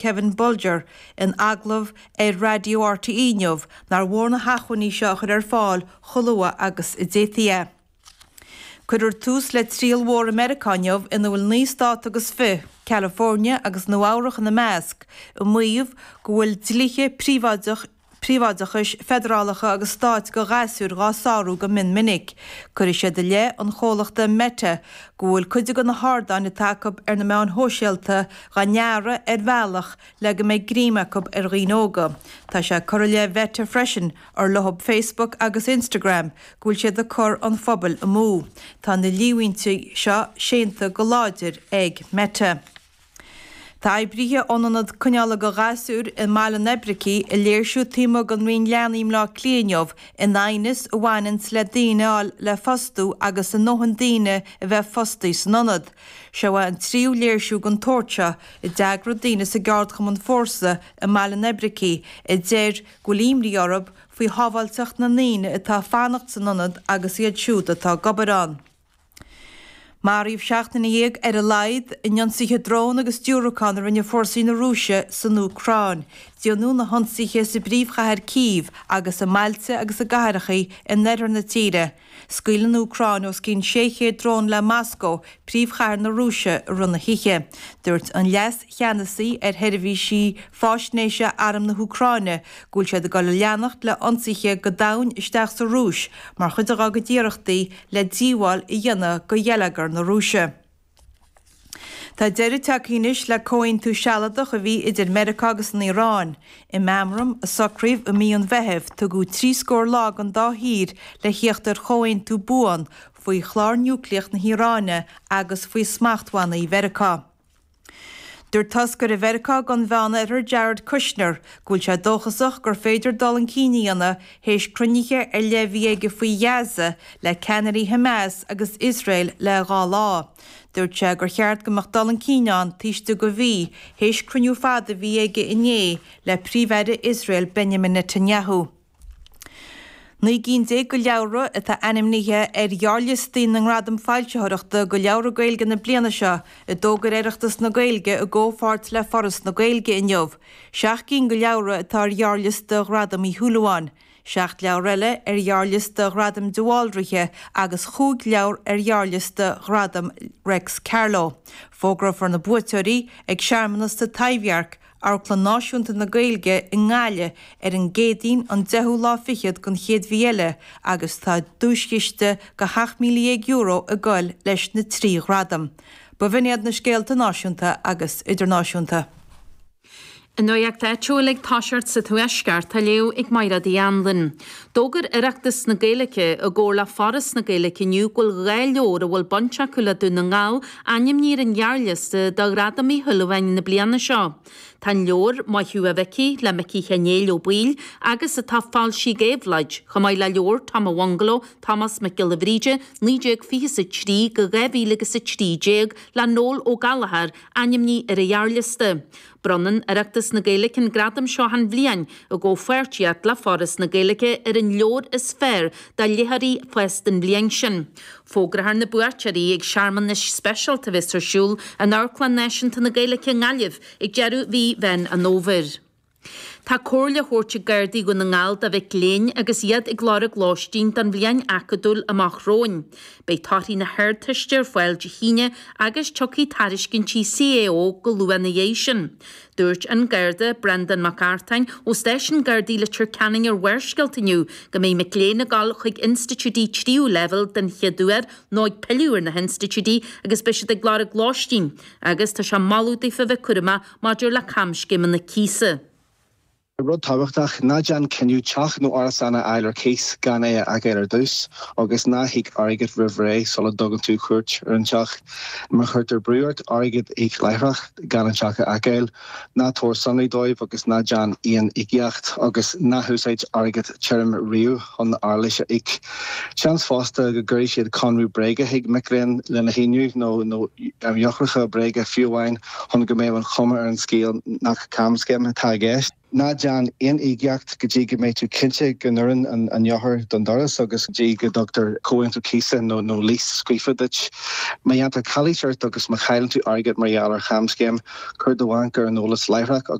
Kevin Bolger in agallamh ar Raidió RTÉ inniu nár mhór na hacmhainní seo a chur ar fáil chomh luath agus a d'fhéadfaí é. Cuirfear tús le triail mhór i Meiriceá inniu ina bhfuil 9 stát agus fich, California agus Nua Eabhrach ina measc, ag maíomh go bhfuil dlíthe príobháideach príobháideachais feidearálacha agus stáit go ghasúir dhá sárú go mion minic. Cuirfidh siad i leith an chomhlachta Meta go bhfuil cuid de na hardáin atá acu ar na meáin shóisialta dhá ndearadh ar bhealach le go mbeidh greim acu ar dhaoine óga. Tá sé curtha i leith Mheta freisin, ar leothab Facebook agus Instagram, go bhfuil siad ag cur an phobail amú. Tá na líomhaintí seo séanta go láidir ag Meta. Tá oibrithe ón ionad coinneála go ghasúir i mBaile an Oibricigh ag léirsiú taobh amuigh den Roinn Leanaí i mBleá Cliath inniu in aighneas a bhaineanns le daoine a fháil le fostú agus a ndóthain daoine a bheith fostaí san ionad. Seo é an tríú léirsiú den tsórt seo a d'eagraigh daoine sa gceardchumann Fórsa i mBaile an Oibricigh a deir go bhfuil imní orthu faoi shábháilteacht na ndaoine atá ag fanacht san ionad agus iad siúd atá ag obair ann. Maraíodh 17 duine ar a laghad in ionsaithe drón agus diúracán a rinne fórsaí na Rúise san Úcráin. Déanadh na hionsaithe sa bpríomhchathair Cív agus i mbailte agus i gcathracha in oirthear na tíre. Scaoil an Úcráin os cionn 600 drón le Moscó, príomhchathair na Rúise, i rith na hoíche. Dúirt an leas-cheannasaí ar sheirbhísí faisnéise Arm na hÚcráine go bhfuil siad ag dul a leanacht le hionsaithe go domhain isteach sa Rúis mar chuid dá gcuid iarrachtaí le díobháil a dhéanamh go gheilleagar na Rúise. Tá deireadh tagtha anois le comhaontú sealadach a bhí idir Meiriceá agus an Iaráin. I meamram a socraíodh i mí an Mheithimh, tugadh trí scór lá don dá thír le thíocht ar chomhaontú buan faoi chlár núicléach na hIaráine agus faoi smachtbhannaí Mheiriceá. Dúirt toscaire Mheiriceá don Mheánoirthear Jared Kushner go bhfuil sé dóchasach gur féidir dul chun cinn a dhéanamh théis cruinnithe ar leith a bhí aige faoi Ghaza le ceannairí Hamas agus Iosrael le dhá lá. Dúirt sé gur cheart go mbeadh dul chun cinn ann taobh istigh de mhí théis cruinniú fada a bhí aige inné le Príomh-Aire Iosrael Benjamin Netanyahu. 19 gcinn de leabhra atá ainmnithe ar ghearrliostaí na nGradam Foilsitheoireachta do Leabhra Gaeilge na bliana seo, a d'fhógair Oireachtas na Gaeilge i gcomhpháirt le Foras na Gaeilge inniu. Seacht gcinn de leabhra atá ar ghearrliosta Ghradam Uí Shúilleabháin, seacht leabhar eile ar ghearrliosta Ghradam de Bhaldraithe agus chúig leabhar ar ghearrliosta Ghradam Reics Carló. Fógrófar na buaiteoirí ag searmanas sa Taibhdhearc Amharclann Náisiúnta na Gaeilge i nGaillimh ar an gCéadaoin an deichiú lá fichead den chéad mhí eile agus tá duaischiste de €17,000 ag goil leis na trí ghradam. B'in iad na scéalta náisiúnta agus idirnáisiúnta. An nuacht áitiúil ag toiseacht sa Tuaisceart á léamh ag Mairéad Uí Anluain. D'fhógair Oireachtas na Gaeilge i gcomhar le Foras na Gaeilge inniu go bhfuil 2 leabhar a bhfuil baint acu le Dún na nGall ainmnithe ar an ghearrliosta do Ghradam Uí Shúilleabháin na bliana seo. Tá an leabhar, Maith Thú a Mhicí, le Micí Sheáin Néill Ó Baoill agus atá foilsithe ag Éabhlóid, chomh maith le leabhar Tom a' Bhungaló, Tomás Mac Giolla Bhríde, 1923 go 2013 le Noel Ó Gallchóir, ainmnithe ar an ghearrliosta. Bronnann Oireachtas na Gaeilge an gradam seo achan bhliain i gcomhpháirtíocht le Foras na Gaeilge ar an leabhar is fearr do léitheoirí fásta an bhliain sin. Fógrófar na buaiteoirí ag searmanas speisialta a bheas ar siúl in Amharclann Náisiúnta na Gaeilge i nGaillimh ag deireadh mhí Mheán an Fhómhair. Tá comhairle á thabhairt ag Gardaí Dhún na nGall do mhic léinn agus iad ag lorg lóistín don bhliain acadúil amach romhainn. Beidh torthaí na hArdteiste ar fáil Dé hAoine agus tiocfaidh tairiscintí CAO go luath ina dhiaidh sin. Dúirt an Garda Breandán Mac Artáin ó Stáisiún Gardaí Leitir Ceanainn ar Bharrscéalta inniu go mbeidh mic léinn ag dul chuig institiúidí tríú leibhéal den chéad uair nó ag pilleadh ar na hinstitiúidí agus beidh siad ag lorg lóistín agus tá sé ag moladh daofa bheith cúramach maidir le camscéimeanna cíosa. Rud tábhachtach, ná déan cinneadh teach nó árasán a fháil ar cíos gan é a fheiceáil ar dtús, agus ná híoc airgead roimh ré sula dtugann tú cuairt ar an teach. Má chuirtear brú ort airgead a íoc láithreach gan an teach a fheiceáil, ná tabhair sonraí dóibh agus ná déan aon íocaíocht, agus ná húsáid airgead tirim riamh chun árachas a íoc. Seans fosta go gcuirfidh siad conradh bréige chuig mic léinn lena shíniú, nó eochracha bréige fiú amháin, chun go mbeadh an chuma ar an scéal nach camscéim atá i gceist. Ná déan aon íocaíocht go dtí go mbeidh tú cinnte go n-oireann an eochair don doras agus go dtí go dtugtar comhaontú cíosa nó lease scríofa duit. Má dhéantar calaois ort agus má chailleann tú airgead mar gheall ar chamscéim, cuir do bhanc ar an eolas láithreach.